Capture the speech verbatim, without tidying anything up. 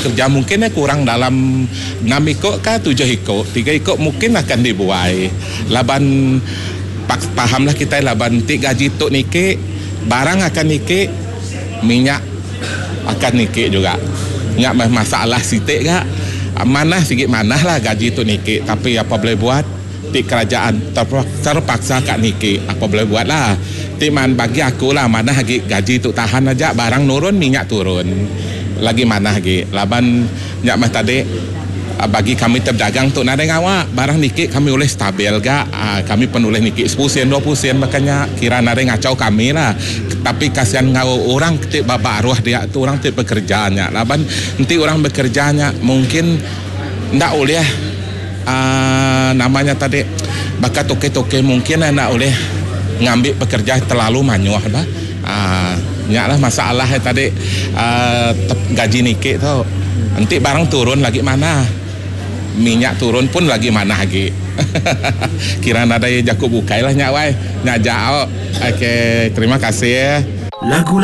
pekerja mungkin kurang dalam enam iko ka tujuh iko, tiga iko mungkin akan dibuai laban pahamlah kitai laban ti gaji tu niki barang akan niki, minyak akan niki juga. Nya meh masalah siti ga. Manah sigi manah lah gaji tu niki tapi apa boleh buat ti kerajaan terpaksa ka niki apa boleh buat lah. Ti man bagi aku lah manah agi gaji tu tahan aja barang nurun minyak turun lagi manah agi laban nya meh tadi bagi kami ti bedagang tu nadai ngawa barang niki kami ulih stabil ga kami pen ulih niki sepuluh sen dua puluh sen baka nya kira nadai ngachau kami lah tapi kasian enggau orang ti ba baruh dia tu orang ti bekerja nya laban enti orang bekerja nya mungkin enda ulih aaa nama nya tadi baka tokey-tokey mungkin enda ulih ngambi pekerja terlalu mayuh bah aaa nya lah masalah iya tadi aaa gaji niki tu enti barang turun lagi manah minyak turun pun lagi manah agi kira nadai jaku bukai lah nya wai nya aja au ok terima kasih. Lagu